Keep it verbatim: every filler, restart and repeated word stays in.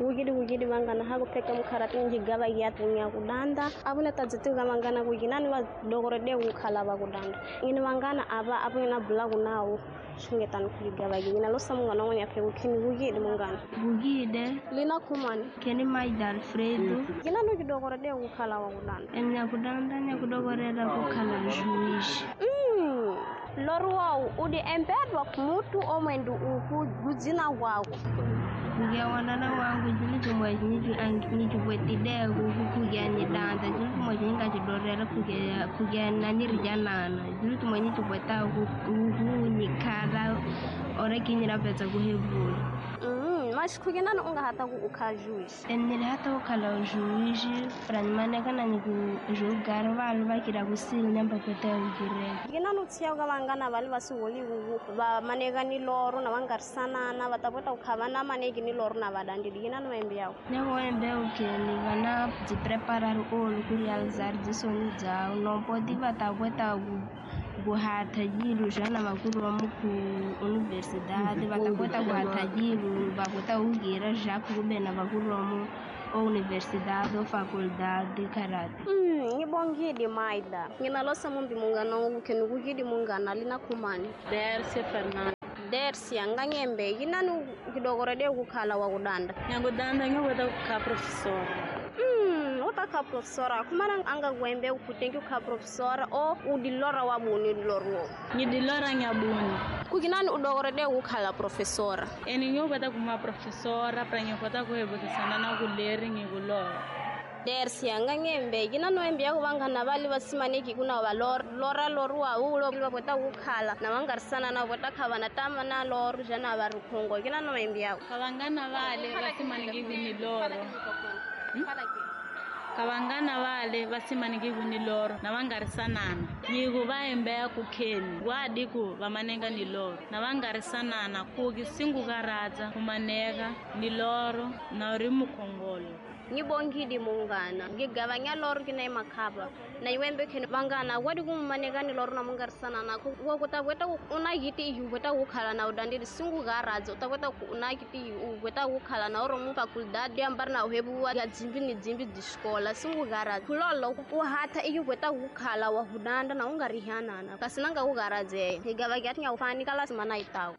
Wugidi wugidi vangana ha kupheka mukharati njigava yatunya kudanda avuna tadzituka vangana kukinani va dokorede kukhala va kudanda ngini vangana ava apungina bulaku nawo xungetani kuyigava yina losa mungana wanya phe kukhini wugidi mungana Bugide lina khumani keni Maida Alfredo kinani ukidokorede kukhala wa kudanda enyakudanda nyakudogorela kukhala juiz. Mm. Lori wawu udi empedwa kumutu omwendu uku kudzina kwako Kugewanana wangu jili chimwe nichipwetideko kukugya nidanda jili chimwe chininga kugya kugya nanirijanana jili chimwe nichipweta kunyikhala ora kinyira petsa kuhevula. Mm, mas kukinani ungahata ku ukha juiz Enile hata ukhala juiz pranimaneka na niku julgar valu vakira kusili nyamba pweta ukireka. Kinani utshiya ka vangana vali va siholiku va maneka ni loro na vangarisanana va ta kota ku kha va na maneki ni loro na vadandili kinani maembe yawo Nyakuwembe ukeni vana byi-preparar olu ku realizar dzisoni dzawo nompoti va ta kota ku kuhatha jilu xana vakuromu ku universidade va ta kota ku hatha jilu va kota ku gira já kube na vakuromu o universidade ou faculdade karate. Mm, ngibongile Maida nginalosa mumbi mungana wangu kukidi mungana lina khumani Dercia Fernando. Dercia nganyembe yinani ukidokorede kukhala wa kudanda Nyakudanda ngiyoweta kukha professora. Mm, utakha professora khumana anga kuembe ukutengi ukha professora o udilora wabuni lorwo Ngidilora ngiyabuni. Kukinani udokorede kukhala professora Eni ngiyoweta kuma professora pra ngiyoweta kuhebekisana na kuleri ngikulora. Dercia nganyembe yinani wembe yako vangana vali vasimaneki kuna va lor lora loruwa ulo va kota kukhala na vangarisana na kota kha vana tama na loro jana va ri khongo yinani wembe yako Kavangana vale vasimaniki kuniloro. Kavangana vale vasimaniki kuniloro na vangarisanana. Nyiku vaembeya kukheni wadiku vamanenga ni loro na vangarisanana kuki singukaradza kumaneka ni loro na uri mukhongolo. Ngibongidi mungana ngigavanya loro kina emakhapa na iwembe kheni vangana wadi kumaneka ni loro na mungarisana nako wakuta kweta una yiti iyu kweta kukhala na udandili singukaradzo utakweta una yiti iyu kweta kukhala na oro mu faculdade ambari na uhebu ya dzimbi ni dzimbi dzixikola singukaradzo kulolo uhatha iyu kweta kukhala wa hudanda na ungarihanana kasi nanga kukaradzeya ngigava kyati nyakufani kala simana itawo.